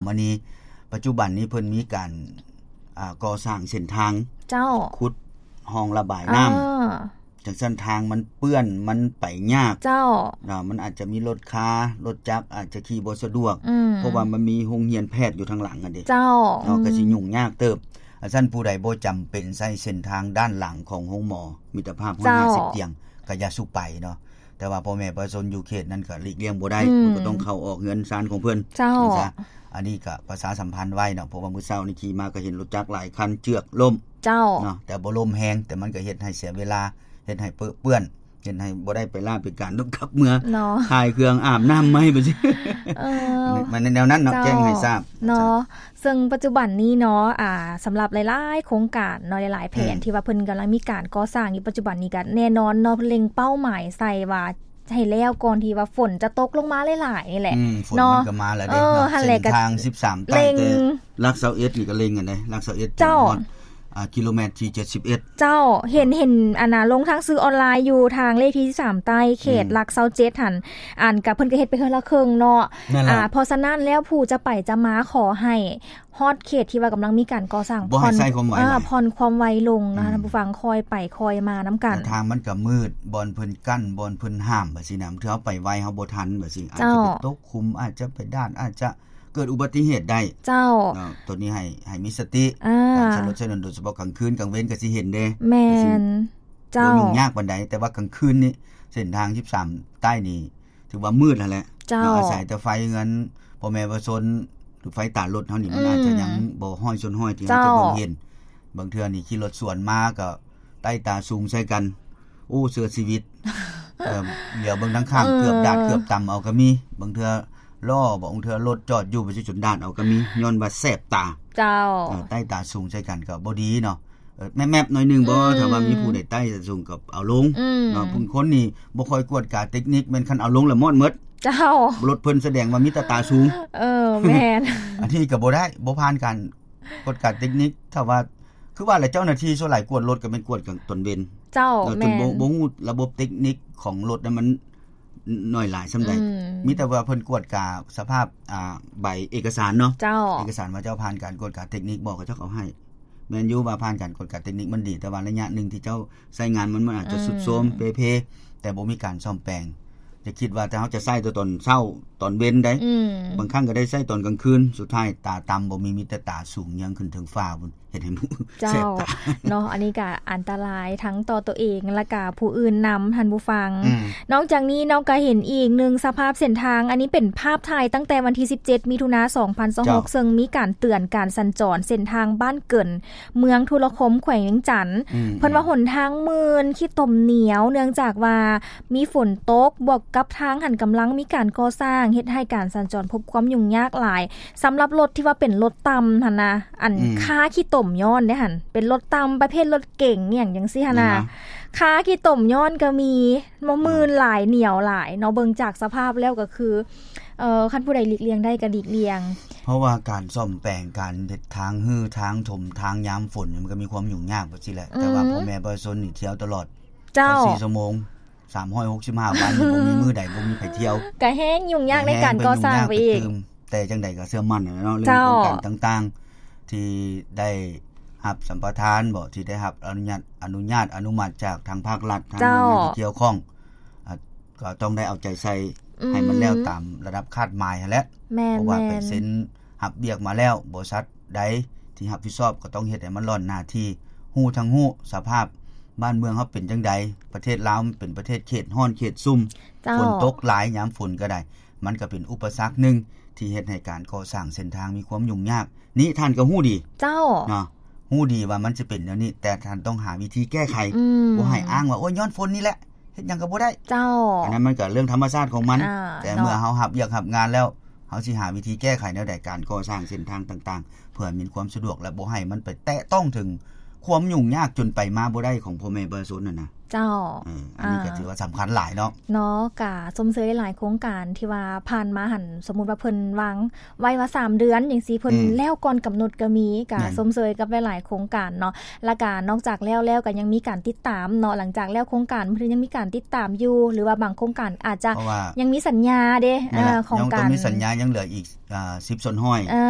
ອັນນີ້ປັດຈຸບັນນີ້ເພິ່ນມີການ ອ່າ ກໍ່ສ້າງເສັ້ນທາງ ເຈົ້າ ຂຸດຮ່ອງລະບາຍນ້ຳ ອ່າ ຈັ່ງຊັ້ນທາງມັນເປື້ອນ ມັນໄປຍາກ ເຈົ້າ ເນາະ ມັນອາດຈະມີລົດຄາ ລົດຈັກອາດຈະຂີ່ບໍ່ສະດວກ ອືມ ເພາະວ່າມັນມີໂຮງຮຽນແພດຢູ່ທາງຫຼັງຫັ້ນເດ ເຈົ້າ ເນາະ ອືມ ກໍຊິຫຍຸ້ງຍາກເຕີບ. ອັນຊັ້ນຜູ້ໃດບໍ່ຈຳເປັນໃຊ້ເສັ້ນທາງດ້ານຫຼັງຂອງໂຮງໝໍມິດຕະພາບ ເຈົ້າ ຮ້ອຍຫ້າສິບຕຽງ ກໍຢ່າສູ່ໄປເນາະ. ແຕ່ວ່າພໍ່ແມ່ປະຊາຊົນຢູ່ເຂດນັ້ນກໍຫຼີກລ່ຽງບໍ່ໄດ້ ອືມ ມັນກໍຕ້ອງເຂົ້າອອກເຮືອນຊານຂອງເພິ່ນ ເຈົ້າ ນີ້ຊະ. ອັນນີ້ກໍປະຊາສຳພັນໄວ້ເນາະ ເພາະວ່າມື້ເຊົ້ານີ້ຂີ່ມາກໍເຫັນລົດຈັກຫຼາຍຄັນເຈື່ອນລົ້ມ ເຈົ້າ ເນາະ ແຕ່ບໍ່ລົ້ມແຮງ ແຕ່ມັນກໍເຮັດໃຫ້ເສຍເວລາ ເຮັດໃຫ້ເປິເປື້ອນ ເຮັດໃຫ້ບໍ່ໄດ້ໄປລາໄປການ ຕ້ອງກັບເມືອ ເນາະ ຖ່າຍເຄື່ອງ ອາບນ້ຳໃໝ່ ແບບນີ້ ເອີ ມັນແນວນັ້ນເນາະ ເຈົ້າ ແຈ້ງໃຫ້ຊາບເນາະ. ເຊິ່ງປັດຈຸບັນນີ້ເນາະ ອ່າ ສຳລັບຫຼາຍໆໂຄງການເນາະ ຫຼາຍໆແຜນ ອືມ ທີ່ວ່າເພິ່ນກຳລັງມີການກໍ່ສ້າງຢູ່ປັດຈຸບັນນີ້ ກໍແນ່ນອນເນາະ ເລັ່ງເປົ້າໝາຍໃສ່ວ່າໃຫ້ແລ້ວກ່ອນທີ່ວ່າຝົນຈະຕົກລົງມາຫຼາຍໆນີ້ແຫຼະ ອືມ ຝົນ ເນາະ ມັນກໍມາແລ້ວເດ້ ເອີ ຫັ້ນແຫຼະ ເສັ້ນທາງສິບສາມ ເລັ່ງ ແຕ່ຫຼັກຊາວເອັດນີ້ກໍເລັ່ງກັນເດ້ ຫຼັກຊາວເອັດ ເຈົ້າ ຮອດ ອ່າ ກິໂລແມັດທີເຈັດສິບເອັດ ເຈົ້າ ເຫັນ ເຫັນອັນນ່າ ລົງທາງສື່ອອນລາຍຢູ່ທາງເລກທີສິບສາມໃຕ້ ເຂດ ອືມ ຫຼັກຊາວເຈັດຫັ້ນ ອັນກະເພິ່ນກໍເຮັດໄປເທື່ອລະເຄິ່ງເນາະ ນັ້ນແຫຼະ ອ່າ ເພາະສະນັ້ນແລ້ວຜູ້ຈະໄປຈະມາ ຂໍໃຫ້ຮອດເຂດທີ່ວ່າກຳລັງມີການກໍ່ສ້າງ ບໍ່ໃຫ້ໃຊ້ຄວາມໄວ ຜ່ອນ ເອີ ຜ່ອນຄວາມໄວລົງນະ ອືມ ທ່ານຜູ້ຟັງ ຄ່ອຍໄປຄ່ອຍມານຳກັນ ແຕ່ທາງມັນກໍມືດ ບ່ອນເພິ່ນກັ້ນ ບ່ອນເພິ່ນຫ້າມ ແບບຊີ້ນະ ບາງເທື່ອເຮົາໄປໄວ ເຮົາບໍ່ທັນ ແບບຊີ້ ເຈົ້າ ອາດຈະໄປຕົກຂຸມ ອາດຈະໄປດ້ານ ອາດຈະ ເກີດອຸບັດຕິເຫດໄດ້ ເຈົ້າ ເນາະ ໂຕນີ້ໃຫ້ ໃຫ້ມີສະຕິ ອ່າ ການໃຊ້ລົດໃຊ້ຖະໜົນ ໂດຍສະເພາະກາງຄືນ ກາງເວັນກໍຊິເຫັນເດ້ ແມ່ນ ເຈົ້າ ບໍ່ຫຍຸ້ງຍາກປານໃດ ແຕ່ວ່າກາງຄືນນີ້ເສັ້ນທາງສິບສາມໃຕ້ນີ້ຖືວ່າມືດຫັ້ນແຫຼະ ເຈົ້າ ເນາະ ອາໄສແຕ່ໄຟເຮືອນພໍ່ແມ່ປະຊາຊົນ ຫຼືໄຟຕາລົດເຮົານີ້ ມັນ ອືມ ອາດຈະຍັງບໍ່ຮ້ອຍສ່ວນຮ້ອຍທີ່ເຮົາຈະເບິ່ງເຫັນ ເຈົ້າ ບາງເທື່ອນີ້ຂີ່ລົດສວນມາກໍ ໃຕ້ຕາສູງໃສ່ກັນ ໂອ້ ເສຍຊີວິດ ເອີ ຫຼຽວເບິ່ງທາງຂ້າງ ເອີ ເກືອບດາດເກືອບຕຳເອົາກໍມີ ບາງເທື່ອລໍ້ບໍ ບາງເທື່ອລົດຈອດຢູ່ ໄປຊິຈົນດາດເອົາກໍມີ ຍ້ອນວ່າແສບຕາ ເຈົ້າ ເອີ ໃຕ້ຕາສູງໃສ່ກັນກໍບໍ່ດີເນາະ ເອີ ແມບໆໜ້ອຍໜຶ່ງບໍ ອືມ ຖ້າວ່າມີຜູ້ໃດໃຕ້ຕາສູງກໍເອົາລົງ ອືມ ເນາະ ບາງຄົນນີ້ບໍ່ຄ່ອຍກວດກາເຕັກນິກ ແມ່ນຄັນເອົາລົງແລ້ວມອດໝົດ ເຈົ້າ ລົດເພິ່ນສະແດງວ່າມີແຕ່ຕາສູງ ເອີ ແມ່ນ ອັນນີ້ກໍບໍ່ໄດ້ ບໍ່ຜ່ານການ ກວດກາເຕັກນິກ ຖ້າວ່າ ຄືວ່າແຫຼະ ເຈົ້າໜ້າທີ່ສ່ວນຫຼາຍກວດລົດກໍແມ່ນກວດກາງຕອນເວັນ ເຈົ້າ ເນາະ ຈົນບໍ່ ແມ່ນ ບໍ່ຮູ້ລະບົບເຕັກນິກຂອງລົດນັ້ນມັນໜ້ອຍຫຼາຍສ່ຳໃດ ອືມ ມີແຕ່ວ່າເພິ່ນກວດກາສະພາບ ອ່າ ໃບເອກະສານເນາະ ເຈົ້າ ເອກະສານວ່າເຈົ້າຜ່ານການກວດກາເຕັກນິກບໍ່ ເຂົາເຈົ້າກໍເອົາໃຫ້ ແມ່ນຢູ່ວ່າຜ່ານການກວດກາເຕັກນິກມັນດີ ແຕ່ວ່າໄລຍະໜຶ່ງທີ່ເຈົ້າໃຊ້ງານມັນ ມັນອາດຈະ ອືມ ຊຸດໂຊມ ເປ່ເພ ແຕ່ບໍ່ມີການສ້ອມແປງ ຢ່າຄິດວ່າແຕ່ເຮົາຈະໃຊ້ແຕ່ຕອນເຊົ້າ ຕອນເວັນໃດ ອືມ ບາງຄັ້ງກໍໄດ້ໃຊ້ຕອນກາງຄືນ ສຸດທ້າຍຕາຕຳບໍ່ມີ ມີແຕ່ຕາສູງເຍືອງຂຶ້ນເທິງຟ້າພຸ້ນ ເຮັດໃຫ້ໝູ່ ເຈົ້າ ແສບຕາເນາະ ອັນນີ້ກໍອັນຕະລາຍທັງຕໍ່ຕົວເອງ ແລະກະຜູ້ອື່ນນຳ ທ່ານຜູ້ຟັງ ອືມ ນອກຈາກນີ້ເນາະ ກໍເຫັນອີກໜຶ່ງສະພາບເສັ້ນທາງ ອັນນີ້ເປັນພາບຖ່າຍຕັ້ງແຕ່ວັນທີສິບເຈັດ ມິຖຸນາ ສອງພັນຊາວຫົກ ເຈົ້າ ເຊິ່ງມີການເຕືອນການສັນຈອນເສັ້ນທາງບ້ານເກີນ ເມືອງທຸລະຄົມ ແຂວງວຽງຈັນ ອືມ ເພິ່ນວ່າຫົນທາງມື່ນ ຂີ້ຕົມໜຽວ ເນື່ອງຈາກວ່າມີຝົນຕົກ ບວກກັບທາງຫັ້ນກຳລັງມີການກໍ່ສ້າງ ເຮັດໃຫ້ການສັນຈອນພົບຄວາມຫຍຸ້ງຍາກຫຼາຍ ສຳລັບລົດທີ່ວ່າເປັນລົດຕ່ຳຫັ້ນນະ ອັນ ອືມ ຄາຂີ້ຕົມຍ້ອນເດ້ຫັ້ນ ເປັນລົດຕ່ຳປະເພດລົດເກັງອີ່ຫຍັງຈັ່ງຊີ້ຫັ້ນນະ ນັ້ນນະ ຄາຂີ້ຕົມຍ້ອນກໍມີ ບໍ່ ອືມ ມື່ນຫຼາຍ ໜຽວຫຼາຍເນາະ ເບິ່ງຈາກສະພາບແລ້ວກໍຄື ເອີ ຄັນຜູ້ໃດຫຼີກລ່ຽງໄດ້ກໍຫຼີກລ່ຽງ ເພາະວ່າການສ້ອມແປງ ການເຮັດທາງ ຮື້ທາງ ຖົມທາງຍາມຝົນ ມັນກໍມີຄວາມຫຍຸ້ງຍາກໄປຊີ້ແຫຼະ ອືມ ແຕ່ວ່າພໍ່ແມ່ປະຊາຊົນນີ້ທ່ຽວຕະຫຼອດ ເຈົ້າ ຊາວສີ່ຊົ່ວໂມງ ສາມຮ້ອຍຫົກສິບຫ້າວັນ ບໍ່ມີມື້ໃດບໍ່ມີໃຜທ່ຽວ ກໍແຮງຫຍຸ້ງຍາກໃນການກໍ່ສ້າງໄປອີກ ແຕ່ຈັ່ງໃດກໍເຊື່ອໝັ້ນແຫຼະເນາະ ເລື່ອງ ເຈົ້າ ໂຄງການຕ່າງໆ ທີ່ໄດ້ຮັບສຳປະທານບໍ ທີ່ໄດ້ຮັບອະນຸຍາດ ອະນຸຍາດ ອະນຸມັດຈາກທາງພາກລັດ ທາງ ເຈົ້າ ໜ່ວຍງານທີ່ກ່ຽວຂ້ອງ ອາ ກໍຕ້ອງໄດ້ເອົາໃຈໃສ່ ອືມ ໃຫ້ມັນແລ້ວຕາມລະດັບຄາດໝາຍຫັ້ນແຫຼະ ແມ່ນ ເພາະວ່າ ແມ່ນ ໄປເຊັນຮັບວຽກມາແລ້ວ ບໍລິສັດໃດທີ່ຮັບຜິດຊອບກໍຕ້ອງເຮັດໃຫ້ມັນລ້ອນໜ້າທີ່ ຮູ້ທັງຮູ້ສະພາບບ້ານເມືອງເຮົາເປັນຈັ່ງໃດ ປະເທດລາວມັນເປັນປະເທດເຂດຮ້ອນເຂດຊຸ່ມ ເຈົ້າ ຝົນຕົກຫຼາຍຍາມຝົນກໍໄດ້ ມັນກໍເປັນອຸປະສັກໜຶ່ງທີ່ເຮັດໃຫ້ການກໍ່ສ້າງເສັ້ນທາງມີຄວາມຫຍຸ້ງຍາກ ນີ້ທ່ານກໍຮູ້ດີ ເຈົ້າ ເນາະ ຮູ້ດີວ່າມັນຈະເປັນແນວນີ້ ແຕ່ທ່ານຕ້ອງຫາວິທີແກ້ໄຂ ອືມ ບໍ່ໃຫ້ອ້າງວ່າ ໂອ້ຍ ຍ້ອນຝົນນີ້ແຫຼະ ເຮັດຫຍັງກໍບໍ່ໄດ້ ເຈົ້າ ອັນນັ້ນມັນກໍເລື່ອງທຳມະຊາດຂອງມັນ ອ່າ ແຕ່ເນາະ ເມື່ອເຮົາຮັບວຽກຮັບງານແລ້ວ ເຮົາຊິຫາວິທີແກ້ໄຂແນວໃດ ການກໍ່ສ້າງເສັ້ນທາງຕ່າງໆ ເພື່ອໃຫ້ມີຄວາມສະດວກ ແລະ ບໍ່ໃຫ້ມັນໄປແຕະຕ້ອງເຖິງຄວາມຫຍຸ້ງຍາກຈົນໄປມາບໍ່ໄດ້ຂອງພໍ່ແມ່ປະຊາຊົນຫັ້ນນະ ເຈົ້າ ເອີ ອັນນີ້ກໍ ອ່າ ຖືວ່າສຳຄັນຫຼາຍເນາະ ເນາະ ກະຊົມເຊີຍຫຼາຍໆໂຄງການທີ່ວ່າຜ່ານມາຫັ້ນ ສົມມຸດວ່າເພິ່ນວາງ ໄວ້ວ່າສາມເດືອນຈັ່ງຊີ້ ເພິ່ນ ອືມ ແລ້ວກ່ອນກຳນົດກໍມີ ກະ ແມ່ນ ຊົມເຊີຍກັບຫຼາຍໆໂຄງການເນາະ ແລ້ວກະນອກຈາກແລ້ວແລ້ວກໍຍັງມີການຕິດຕາມເນາະ ຫຼັງຈາກແລ້ວໂຄງການເພິ່ນຍັງມີການຕິດຕາມຢູ່ ຫຼືວ່າບາງໂຄງການອາດຈະ ເພາະວ່າ ຍັງມີສັນຍາເດ້ ເອີ ຂອງການ ຍັງຕ້ອງມີສັນຍາ ຍັງເຫຼືອອີກ ອ່າ ສິບສ່ວນຮ້ອຍ ເອີ